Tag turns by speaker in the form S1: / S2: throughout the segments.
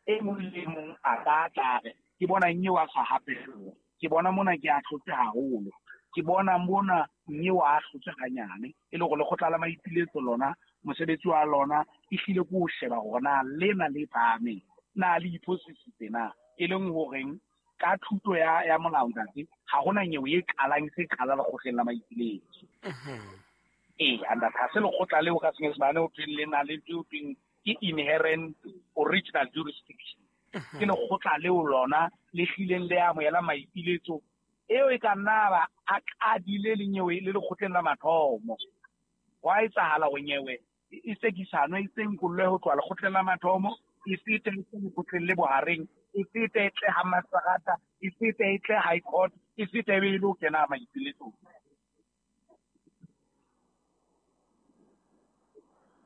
S1: E mong le e mong a ka tla re ke bona nyewe a sa hapelwa, ke bona mona ke ahlotse haholo, ke bona mona nyewe a ahlotse hanyane. E le hore lekgotla la maipiletso lona mosebetsi wa lona e hlile ke ho sheba hore na lena le phahameng na le iphosisitse na, e leng horeng ka thuto ya molao ntate ha hona nyewe e qalang e se qala lekgotleng la maipiletso. Ee, ntate, ha se lekgotla leo ka Senyesemane ho thweng le na le ntho eo thweng ke inherent original jurisdiction. Ke lekgotla leo lona le hlileng le amohela maipiletso eo e ka nna ba a qadile le nyewe le lekgotleng la mathomo. Hwa etsahala hore nyewe e sekisano e senkollwe ho tloha lekgotleng la mathomo, e fete e tle lekgotleng le bohareng, e fete e tle ha maserata, e fete e tle high court, e fete e be e lo kena maipiletsong.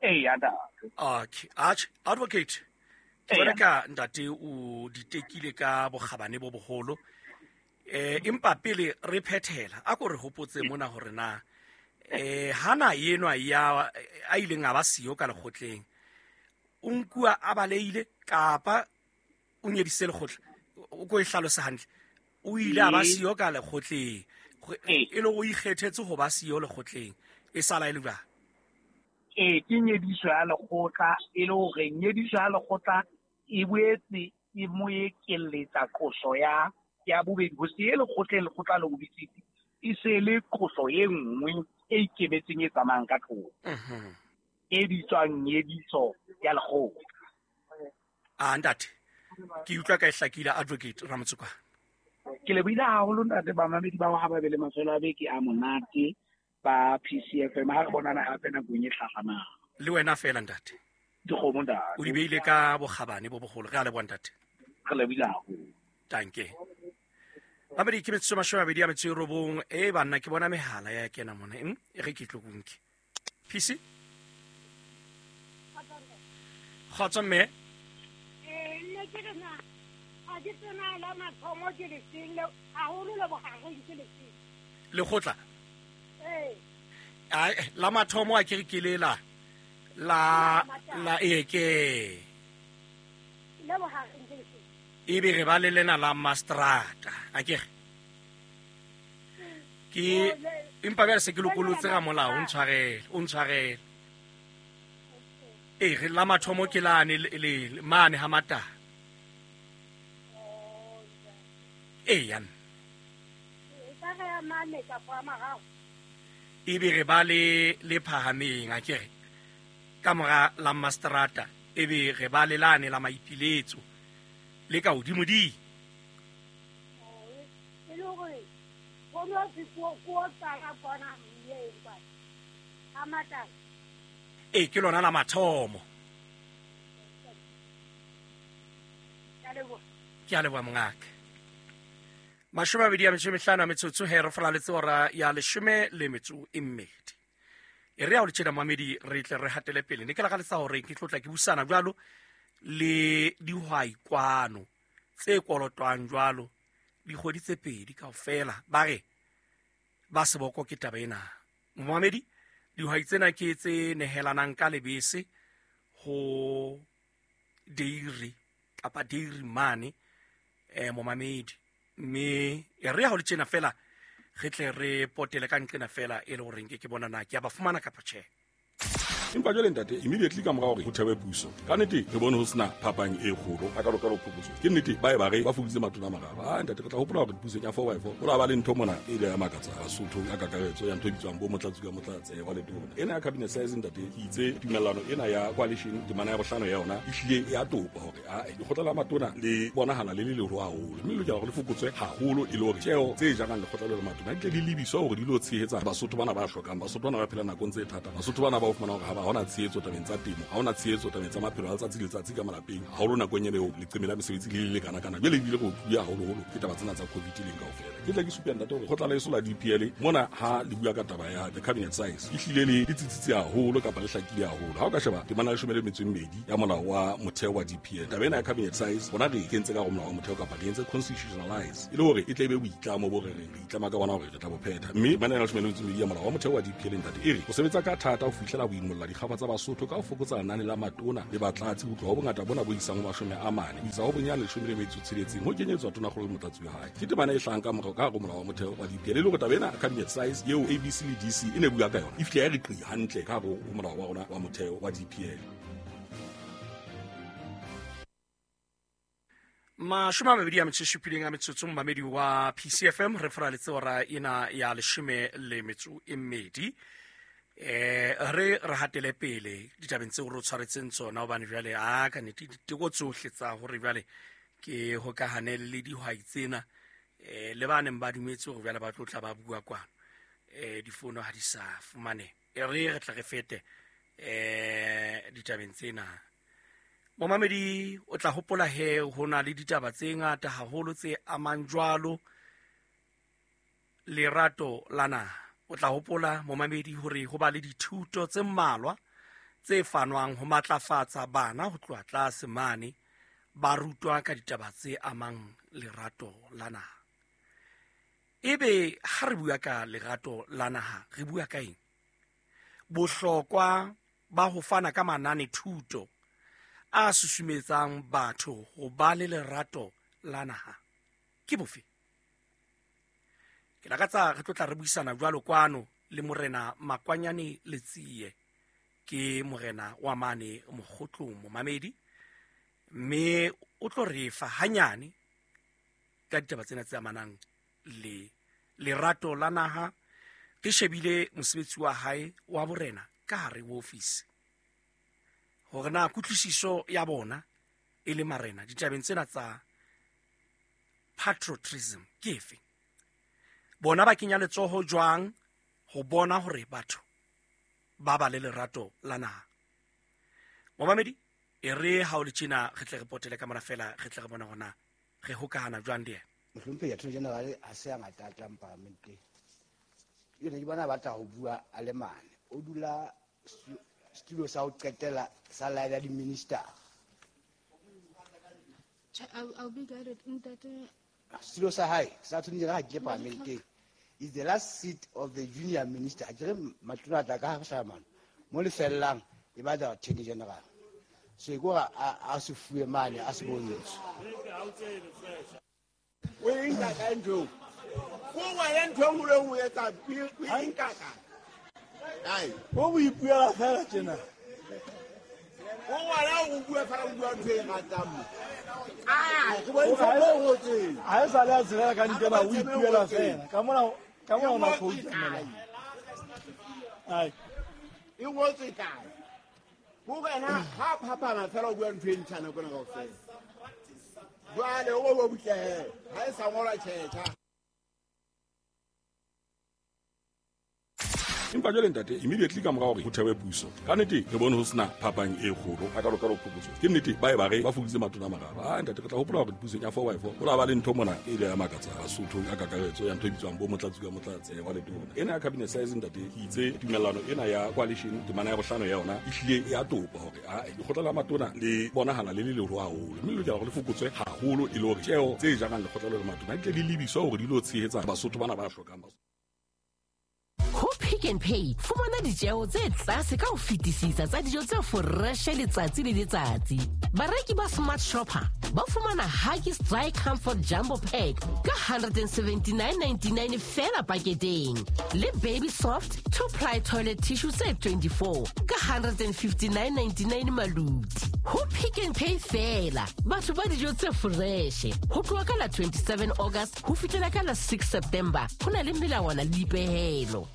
S1: Ee, ntate.
S2: Okay, atjhe, advocate, ke bona ka ntate o di tekile ka bokgabane bo boholo. Empa pele re phethela, a ko re hopotse mona hore na hana enwa ya a ileng a ba siyo ka lekgotleng, o nkuwa a baleile kapa o nyedisitse lekgotla? O ko e hlalose hantle. O ile a ba siyo ka lekgotleng, e le o ikgethetse ho ba siyo lekgotleng, e sala e le jwang?
S1: Ee, ke nyediso ya lekgotla, e le hore nyediso ya lekgotla e boetse e mo ekelletsa qoso ya bobedi. Ho se ye lekgotleng, lekgotla le o bitsitse, e se le qoso e nngwe e ikemetseng e tsamayang ka thoko, e bitswang nyediso ya lekgotla.
S2: A ntate, ke utlwa ka e hlakile, Advocate Ramotsokwane.
S1: Ke lebohile haholo ntate, bamamedi ba ha ba be le mafelo a beke a monate ba PCFM. Ha re bonana hape nakong e hlahlamang.
S2: Le wena fela ntate.
S1: Dikgomo ntate.
S2: O di beile ka bokgabane bo boholo. Re a leboha ntate.
S1: Re lebohile haholo.
S2: Danke. Mamedi ke metsotso 29. E banna ke bona mehala ya kena mona. E re ke tlo kunke. PC? Kgotso mme.
S3: Nne ke re na a ke tsena la mathomo ke lefeng le haholo le bohareng ke lefeng?
S2: Lekgotla?
S3: Ee.
S2: Ai, la mathomo a ke re ke le la la la e ke.
S3: Le bohareng ke lefeng?
S2: E be re ba le lena la mastrata, a ke re. Ke empa bjale se ke lokolotse ga molao, o ntshwarele, o ntshwarele. Ee, re la mathomo ke lane le mane ha matala. Ee, ya nna. E be re ba le le phahameng, a ke re, ka mora la mastrata, e be re ba le lane la maipiletso le ka hodimodimo. Ee, ke lona la mathomo. Ke a leboha mongaka. 25 metsotso he re folaletse ora ya 12. E re ya o le tjena mamedi re tle re hatele pele. Ne ke lakaletsa hore ke tlotla ke busana jwalo le dihwai kwano tse kolotwang jwalo dikgwedi tse pedi kaofela, ba re ba seboko ke taba ena. Momamedi, dihwai tsena ke tse nehelanang ka lebese ho dairy kapa dairy mane, momamedi. Mme e re ha o le tjena fela re tle re potele ka nqena fela e le horeng ke bona na ke a ba fumana kapa tjhe.
S4: Empa jwale ntate, immediately ka mora hore ho thewe puso, ka nnete re bone ho sena phapang e kgolo a ka lokalo phokotso. Ke nnete ba e ba re ba fokoditse matona a mararo. Ah ntate, re tla hopola hore pusong ya four by four ho la ba le ntho mona e ile ya makatsa Basotho ka kakaretso ya ntho e bitswang bo motlatsi ka motlatse wa letona. Ena ya cabinet size ntate, ke itse tumellano ena ya coalition temana ya bohlano ya yona e hlile e a topa hore a lekgotla la matona le bonahala le le leholo haholo, mme le lokela hore le fokotswe haholo e le hore tjeo tse jarang lekgotla le matona di tle di lebiswa hore di lo tshehetsa Basotho bana ba hlokang, Basotho bana ba phelang nakong tse thata, Basotho bana ba o fumana hore ha ba hona tshehetso tabeng tsa temo, ha hona tshehetso tabeng tsa maphelo a letsatsi le letsatsi ka malapeng, haholo nakong ena eo leqeme la mesebetsi le le lekana kana. Jwale ebile re otluwe haholoholo ke taba tsena tsa COVID leng kaofela. Ke tla ke supe ntate hore kgotla la eso la DPL mona ha le bua ka taba ya the cabinet size e hlile le tsitsitse haholo kapa le hlakile haholo. Ha o ka sheba temana ya 12 ya molao wa motheo wa DPL, taba Taba ena ya cabinet size rona re e kentse ka go molao wa motheo kapa re entse constitutionalize e le hore e tle e be boitlamo bo re reng re itlama ka bona hore re tla bo phetha. Mme temana ya 12 ya molao wa motheo wa DPL ntate e re ho sebetsa ka thata ho fihlela ho imolla dikgafa tsa Basotho ka ho fokotsa lenane la matona le batlatsi ho tloha ho bongata bona bo isang ho 40 ho isa ho bonyane 16 ho kenyetswa tonakgolo le motlatsi wa hae. Ke temana e hlahang ka morao ka hare ho molao wa motheo wa DPL e le hore taba ena cabinet size eo ABC le DC e ne bua ka yona e fihla ya re qi hantle ka hare ho molao wa rona wa motheo wa DPL.
S2: 27 a metsotso momamedi wa PCFM re foraletse ora ena ya 12. Re re hatele pele ditabeng tseo re o tshwaretseng tsona hobane jwale a ka nnete diteko tsohle tsa hore jwale ke hokahane le dihwai tsena le ba neng ba dumetse hore jwale ba tlo tla ba bua kwano difono ha di sa fumane. E re re tla re fete ditabeng tsena. Momamedi o tla hopola he ho na le ditaba tse ngata haholo tse amang jwalo lerato la naha. O tla hopola momamedi hore ho ba le dithuto tse mmalwa tse fanwang ho matlafatsa bana ho tloha tlase mane ba rutwa ka ditaba tse amang lerato la naha. Ebe ha re bua ka lerato la naha re bua ka eng? Bohlokwa ba ho fana ka manane thuto a susumetsang batho ho ba le lerato la naha ke bofe? Ke lakatsa re tlo tla re buisana jwalo kwano le morena Makwanyane Letsie, ke morena wa mane Mokgotlong momamedi, mme o tlo re fa hanyane ka ditaba tsena tse amanang le lerato la naha. Re shebile mosebetsi wa hae wa borena ka hare ho ofisi hore na kutlwisiso ya bona e le marena ditabeng tsena tsa patriotism ke efe, bona ba kenya letsoho jwang ho bona hore batho ba ba le lerato la naha. Momamedi e re ha o le tjena re tle re potele ka mona fela re tle re bona hore na re hokahana jwang le yena.
S5: Mohlomphehi Attorney General ha se a ngata a tlang parlamenteng. Ke ne ke bona a batla ho bua a le mane. O dula setulo sa ho qetela sa line ya di-minister.
S6: I'll be guided. Ntate.
S5: Setulo sa hae sa Attorney General ha ke parlamenteng is the last seat of the junior minister. Ha ke re matona a tla ka ha mane mo le fellang e batla Attorney General. So e ke hore a se fuwe mane a se bontshe.
S7: O e nka kae ntho eo? Ko wena ntho e nngwe le nngwe o etsa, o e nka kae? Ai.
S8: O bo ipuela fela tjena.
S7: O wena o bua fela, o bua ntho e ratang mo. Ah, ke bontsha mo o ngotseng.
S8: Ha e sa le a tshelela ka ntena, o ipuela fela. Ka mona, ka mona o na quote mona. Ai.
S7: E ngotswe kae? Ko wena ha phapana fela o bua ntho e ntjha nako ena kaofela. Jwale o bo butle he, ha e sa ngolwa tjhetjha.
S4: Empa jwale ntate immediately ka mora hore ho thewe puso ka nnete re bone ho sena phapang e kgolo a ka lokalo phokotso. Ke nnete ba e ba re ba fokoditse matona a mararo. A ntate re tla hopola hore pusong ya 4x4 ho la ba le ntho mona e ile ya makatsa Basotho ka kakaretso ya ntho e bitswang bo motlatsi ka motlatsi wa letona. Ena ya cabinet size ntate ke itse tumellano ena ya coalition temana ya bohlano ya yona e hlile ya topa hore a lekgotla la matona le bonahala le le leholo haholo mme le lokela hore le fokotswe haholo e le hore tjeo tse jarang lekgotla le matona di tle di lebiswa hore di lo tshehetsa Basotho bana ba hlokang.
S9: Ho Pick n Pay fumana ditjeo tse tlase ka ho fetisisa tsa dijo tse foreshe letsatsi le letsatsi. Bareki ba Smart Shopper ba fumana Huggies Dry Comfort Jumbo Pack ka 179.99 fela paketeng, le Baby Soft 2-ply toilet tissue tse 24 ka 159.99 maluti. Ho Pick n Pay fela batho ba dijo tse foreshe ho tloha ka la 27 August ho fihlela ka la 6 September. Ho na le melawana le dipehelo.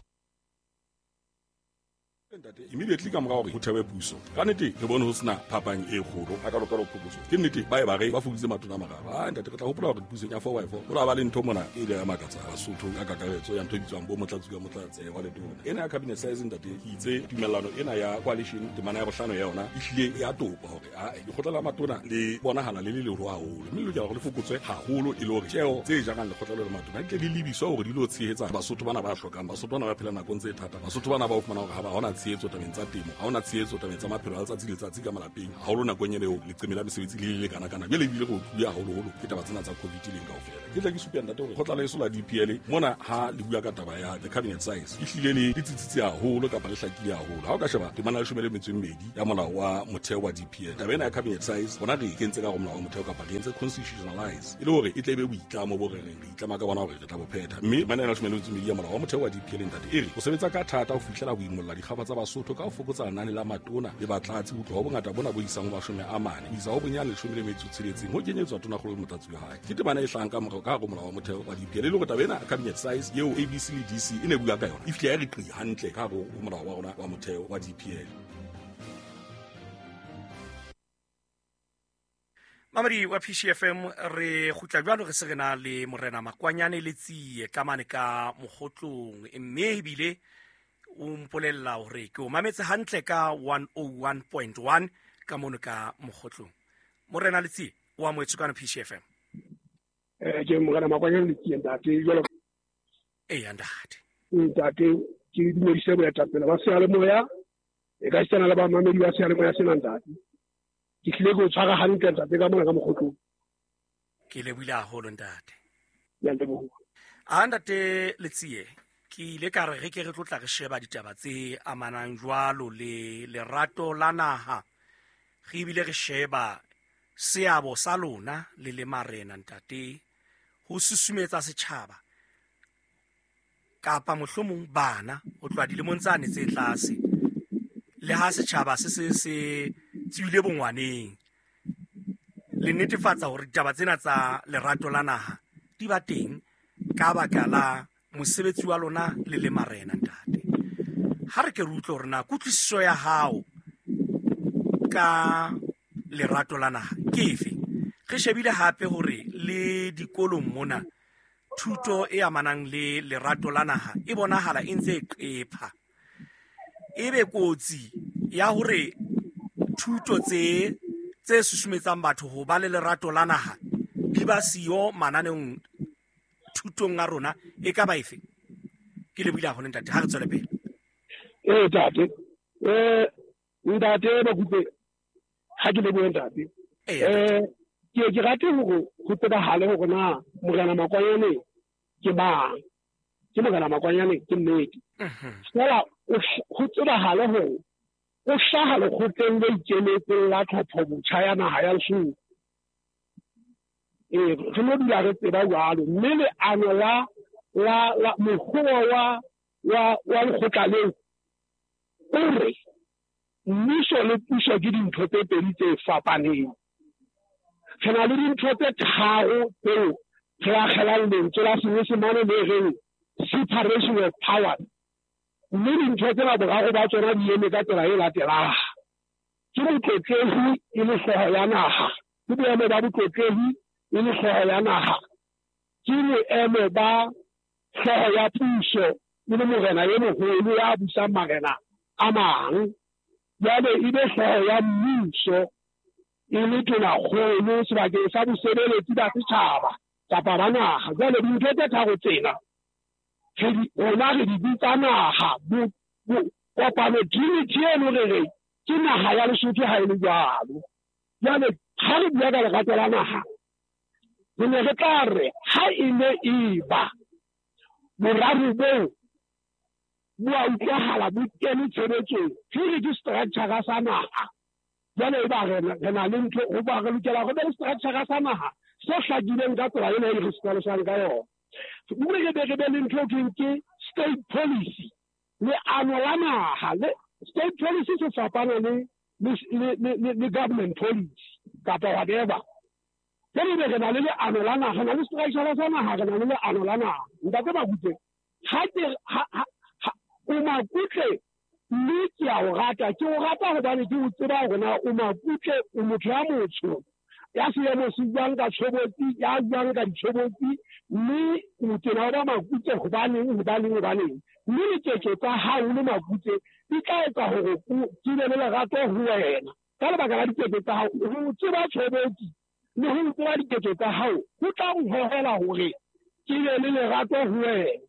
S4: Ntate immediately ka mora hore ho thewe puso ka nnete re bone ho sena phapang e kgolo a ka lokalo phokotso. Ke nnete ba e ba re ba fokoditse matona a mararo. A ntate re tla hopola hore pusong ya 4x4 ho la ba le ntho mona e ile ya makatsa Basotho ka kakaretso ya ntho e bitswang bo motlatsi ka motlatsi wa letona. Ena ya cabinet size ntate ke itse tumellano ena ya coalition temana ya bohlano ya yona e hlile ya topa hore a lekgotla la matona le bonahala le le leholo haholo mme le lokela hore le fokotswe haholo e le hore tjeo tse jarang lekgotla le matona di tle di lebiswa hore di lo tshehetsa Basotho bana ba hlokang, Basotho bana ba phelang nakong tse thata, Basotho bana ba o fumana hore ha ba hona tshehetso tabeng tsa temo, ha hona tshehetso tabeng tsa maphelo a letsatsi le letsatsi ka malapeng, haholo nakong ena eo leqeme la mesebetsi le le kana kana. Jwale ebile re utlwile haholoholo ke taba tsena tsa COVID leng kaofela. Ke tla ke supe ntate hore kgotla leso la DPL mona ha le bua ka taba ya the cabinet size e hlile le tsitsitse haholo kapa le hlakile haholo. Ha o ka sheba temana ya 12 ya molao wa motheo wa DPL, taba ena ya cabinet size bona re e kentse ka hare ho molao wa motheo kapa re entse constitutionalize e le hore e tle e be boitlamo bo re reng re itlama ka bona hore re tla bo phetha. Mme temana ena ya 12 ya molao wa motheo wa DPL ntate e re o sebetsa ka thata ho fihlela ho imolla dikgafa tsa Basotho ka ho fokotsa lenane la matona le batlatsi ho tloha ho bongata bona bo isang ho 40 ho isa ho bonyane 16 ho kenyetswa tonakgolo le motlatsi wa hae. Ke temana e hlahang ka morao ka hare ho molao wa motheo wa DPL e le hore taba ena cabinet size eo ABC le DC e ne bua ka yona e fihla ya re qi hantle ka hare ho molao wa rona wa motheo wa DPL.
S2: Mamedi wa PCFM re kgutla jwalo re se re na le morena Makwanyane le Tsie ka mane ka Mokgotlong, mme ebile o mpolella hore ke o mametse hantle ka 101.1 ka mono ka Mokgotlong. Morena le Tsie o amohetswe kwano PCFM.
S10: Ke morena Makwanyane le Tsie ntate jwalo.
S2: Eya ntate.
S10: Ntate ke dumedise boetapele ba seyalemoya e ka sitana le bamamedi ba seyalemoya sena ntate. Ke tlile go tshwara hantle ntate ka mona ka Mokgotlong.
S2: Ke lebohile haholo ntate.
S10: Ya leboha.
S2: A ntate Letsie, ke ile ka re re ke re tlotla re sheba ditaba tse amanang jwalo le lerato la naha. Re ebile re sheba seabo sa lona le le marena ntate ho susumetsa setjhaba kapa mohlomong bana ho tloha dilemong tsane tse tlase le ha setjhaba se se se tswile bongwaneng, le netefatsa hore ditaba tsena tsa lerato la naha di ba teng ka baka la mosebetsi wa lona le le marena ntate. Ha re ke re utlwe hore na kutlwisiso ya hao ka lerato la naha ke efe. Re shebile hape hore le dikolong mona thuto e amanang le lerato la naha e bonahala e ntse e qepha. Ebe kotsi ya hore thuto tse susumetsang batho ho ba le lerato la naha di ba siyo mananeong thutong a rona e ka ba efe? Ke lebohile haholo ntate, ha re tswele pele.
S10: Ntate. Ntate Makupe, ha ke lebohe ntate. Ke rate hore ho tsebahale hore na morena Makwanyane ke mang. Ke morena Makwanyane ke nnete. Fela ho tsebahale hore o hlaha lekgotleng le ikemetseng la tlhopho botjha ya naha ya Lesotho. Re no dula re tseba jwalo, mme leano la mokgwa wa lekgotla leo o re mmuso le puso ke dintho tse pedi tse fapaneng. Re na le dintho tse tharo tseo re akgelang lentswe la Senyesemane le reng separation of powers. Mme dintho tsena boraro ba tsona di eme ka tsela e latelang. Ke motlotlehi e le hlooho ya naha, ke boemo ba botlotlehi e le hlooho ya naha, ke boemo ba hlooho ya puso e le morena e moholo ya busang marena a mang, jwale e be hlooho ya mmuso e le tonakgolo sebakeng sa bosebeletsi ba setjhaba kapa ba naha. Jwale dintho tse tharo tsena rona re di bitsa naha. Kopano trinity eno re re ke naha ya Lesotho ha e le jwalo. Jwale ha re bua ka lerato la naha, re ne re tla re ha e ne e ba boraro boo bo a utlwahala bo kene tshebetsong, re re ke structure sa naha. Jwale e ba re na le ntho ho ba re lokela ho be le structure sa naha se hlakileng ka tsela ena e re se hlalosang ka yona. Mme re be re be le ntho e ke state policy, leano la naha. Le state policy se fapana le government policy kapa whatever. Jwale be re na le leano la naha, re na le structure sa naha, re na le leano la naha. Ntate Makupe, ha ke o Makutle mme ke a o rata, ke o rata hobane ke o tseba hore na o Makutle, o motho ya motsho ya seemo se buang ka tshobotsi, ya buang ka ditshobotsi, mme o tena o ba Makutle hobaneng. Mme diketso tsa hao le Makutle di tla etsa hore ke be le lerato ho wena ka lebaka la diketso tsa hao. Ho tseba tshobotsi le ho tseba diketso tsa hao ho tla o hohela hore ke be le lerato ho wena.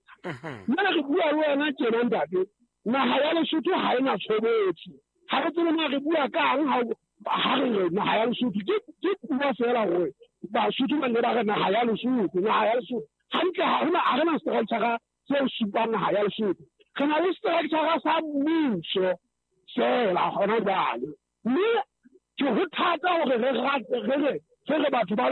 S10: Mme re bua le wena tjena ntate, Naha ya Lesotho ha ena tshobotsi. Ha re tsebe na re bua kang ha re re naha ya Lesotho. Ke puo feela hore Basotho ba nne ba re naha ya Lesotho, naha ya Lesotho. Hantle ha hona, ha re na structure se supang naha ya Lesotho. Re na le structure sa mmuso feela hona jwale. Mme ke ho thata hore re re batho ba